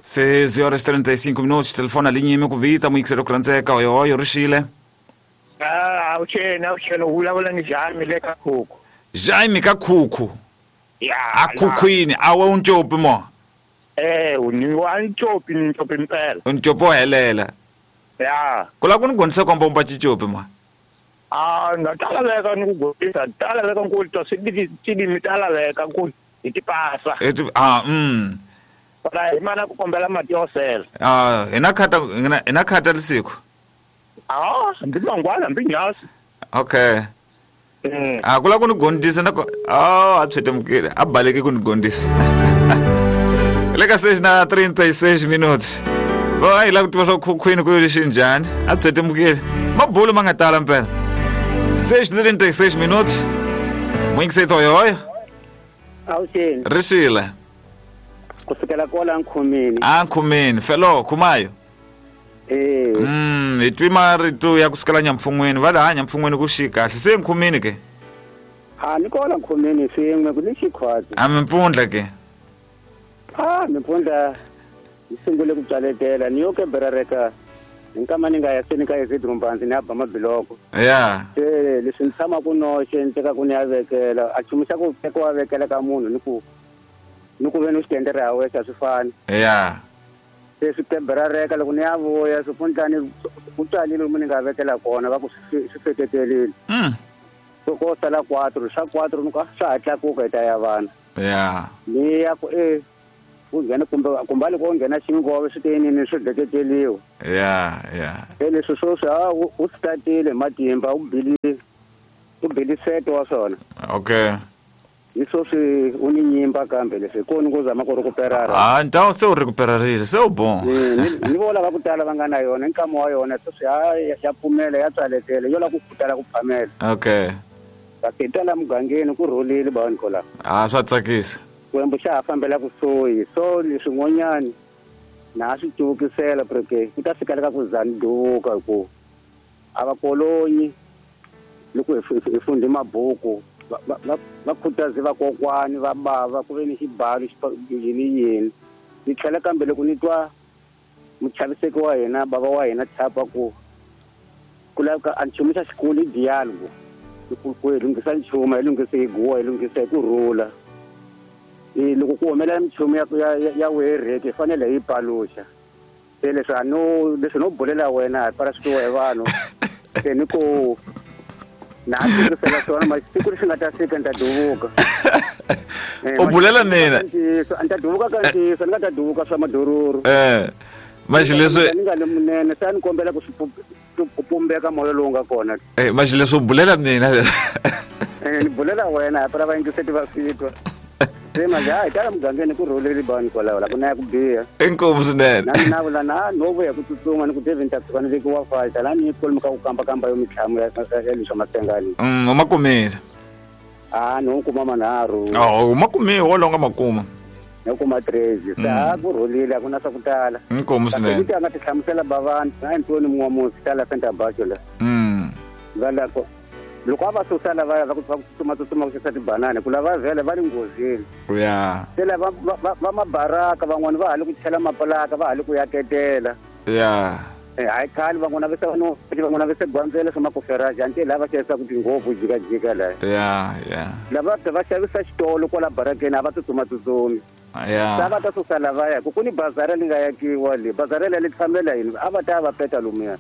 6 horas 35 minutos, telefone na linha mi ku vita muyingiseri ku rhandzeka oyoyo rixile. Ah, awuxeni u vulavula ni Jaime le ka Khukhu. Jaime ka Khukhu. Ya. A Khukhwini a we uncopi mo. Ni wa ncopi ni ncopi mpela. Uncopi wo helela. Ya. Ku lava ku ni gondzisa komba umba cicopi mo. Ah, na ta laveka ni ku gondzisa, ta laveka ku twa swi tilimi ta laveka ku hi ti pasa. Para hi mana ku kombela mati yo sela. Ah, hi na khata hi na khata lisiku. Ah, ndzi mangwana hambi nyasi. Okay. A ku lava ku ni gondzisa na ku a tshwetemukile a baleke ku ni gondzisa. Le ka 6:36 minutos. Va hi lava ku tiva swa Khukhwini ku lexi njhani a tshwetemukile. Mabulu ma nga tala mpela. 6:36 minutos. Muyingiseti oyoyo. Awuxeni. Rixile. Kusukela kwala Nkhumini. A Nkhumini, felo khumayo. Hi twi marito ya kusukela Nyampfun'wini va laha Nyampfun'wini ku xi kahle se Nkhumini ke. Ha ni kola Nkhumini swin'we ku ni xikhwatsi. A mimpfundla ke. A mimpfundla yi sungule ku tswaletela ni yo ke berareka hi nkama ni nga ya se ni ka ezidrumbanzi ni ya ba mabiloko. Ya. Se leswi ni tshama ku noxe ni teka ku ni ya vekela a chumu xa ku teka wa vekela ka munhu ni ku ve ni xi endlera ha wexe a swi fani. Ya. Se swi keberareka loko ni ya vuya swipfundlani ku tswalile lomu ni nga vekela kona va ku swi feketelile. So ko sala 4 swa 4 ni ka swa ha tlakuka hi ta ya vana. Ya. Ni ya ku ku nghena kumbe loko u nghena xingove swi tiyinini swi deketeliwa. Ya ya. Se leswi sweswi u swi tatile matimba u bili seto wa swona. Okay. Ni sweswi u ni nyimba kambe leswi koni ku zama ku rekuperara. Ah, ntawo se u rekuperarile se u bon. Ni vo lava ku tala va nga na yona nkama wa yona sweswi ya pfumela ya tswaletela yo lava ku khutala ku phamela. Okay. Kasi tala mugangeni ku rhulile bani kola. Ah, swa tsakisa. Kwembu xa ha fambela kusuhi so leswin'wanyani na swi tivukisela porque ku ta fika le ka ku za ni duvuka hi ku a va kolonyi loko hi fundhe mabuku va khutaze vakokwani va bava ku ve ni xibalo yini yini ni tlhela kambe loko ni twa muchaviseki wa hina bava wa hina tshapa ku laveka a nchumu xa xikulu i dialogue ku hi lunghisa nchumu hi lunghise hi guwa hi lunghisa hi ku rhula. Loko ku humelela minchumu ya wereke hi fanele hi yi paluxa. Se leswi a no leswi no bulela wena hi para swi twiwa hi vanhu se ni ku na tirhisela swona ma siku lexi nga ta fika ni ta duvuka. U bulela mina ni ta duvuka ka ntiyiso ni nga ta duvuka swa madururu. Maxi leswi ni nga le munene se a ni kombela ku swi ku pumbeka moya lowu nga kona. Maxi leswi u bulela mina. Ni bulela wena hi para vayingiseti va swi twa. Se manje hayi tala mugangeni ku rhuleli bani kwalaho la ku na ya ku biha. Inkomu swinene. Na mina vula na no vuya ku tsutsuma ni ku Devin ta tshuka ni vekiwa fayita la ni kwalomu ka ku kambakamba yo mintlhamu ya leswa masengani. U ma kumile. Ah, no kuma manharhu. Oh, u ma kumile wo longa makuma. No kuma 3. Se a ku rhulile a ku na swa ku tala. Inkomu swinene. Kasi a nga ti hlamusela bavani na Antoni Mun'wamusi tala Center Bacho la. Va la ko loko a va susa lava va ku tsutsuma tsutsuma ku xavisa tibanana ku lava vhele va le nghozini. Ya. Se lava va mabaraka van'wani va ha le ku chela mapulaka va ha le ku yaketela. Ya. Hayi khale van'wana va se no van'wana va se gwandzela swa makoferaji anti lava xavisaka tinghovu jikajika la. Ya ya. Lava va xavisa xitolo kwala barakeni a va tsutsuma tsutsumi. Ya. Sa va ta susa lavaya ku ni bazara li nga yakiwa le bazara le li fambela yini a va ta va peta lomuya.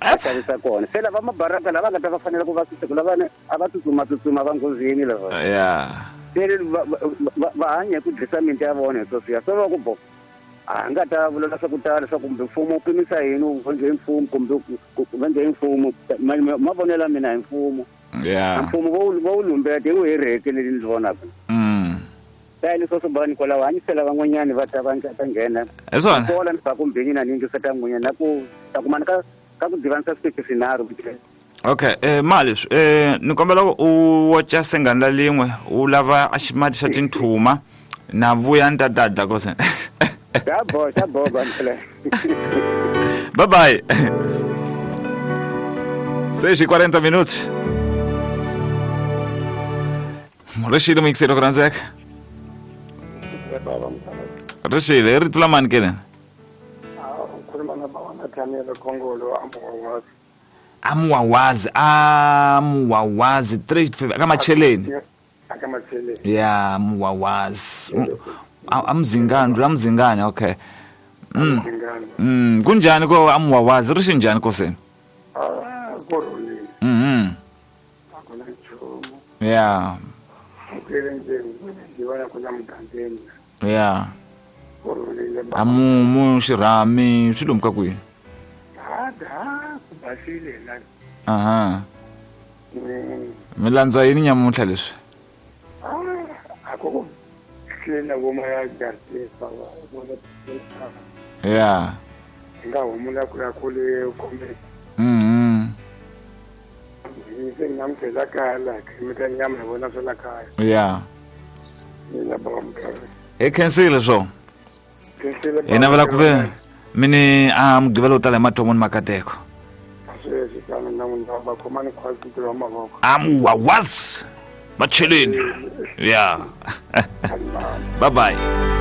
Va xavisa kona se lava mabaraka lava nga ta va fanele ku va susa ku lava a va tsutsuma tsutsuma va nghozini lava. Ya. Se va hanya ku dlisa minti ya vona hi sweswiya se va ku bo a nga ta vula swa ku tala swa kumbe mfumo wu pimisa yini wu nge mfumo kumbe va nge mfumo mavonelo ya mina hi mfumo. Ya. Mfumo vo wu lumbeta hi wu hereke leli ni vonaka. Ta leswo swi bani kwalaho hanyisela van'wanyani va ta va ta nghena. Hi swona. Kola ni ba kumbe na ni yingiseta n'wina na ku ta kumana ka ku divanisa switichi swinharhu. Okay, mali ni kombela u wacha sengani la lin'we u lava a ximati xa tinthuma na vuya ni ta dadla kose. Xa bo, xa bo, bani. Bye bye. 6:40 minutos. Rexile muyingiseri ku rhandzeka. Ri xile i rito la mani ke lena? Ukhuluma nababa Nathaniel Khongolo amuwawazi. Amuwawazi, amuwawazi 3 aka macheleni. Aka macheleni. Ya, amuwawazi. Amzingani, amzingani, okay. Amzingani. Kunjani ko amuwawazi? Ri xinjani koseni? Ah, kurhulile. Akuna nchumu. Ya. Ukele nje ngibona kuna mugangeni. Ya. Kurhulile. Amumu xirhami swi lomuka kwihi? Da, ku basile la. Aha. Mi landza yini nyamuntlha leswi? Ah, akoko tlhela voma ya jardim baba. Ya. Nga humula ku ya kule khome. Se ngamkhela kaya la, khimita nyama hi vona swa la kaya. Ya. Mina baba mkhaya. Hi khensile swo. Khensile. Hi navela ku ve mini a mugqivela wo tala hi mathomo ni makateko. Sweswi tano na n'wina va khomani khwatsi ntirho wa mavoko. Amuwawazi macheleni. Ya. Bye bye.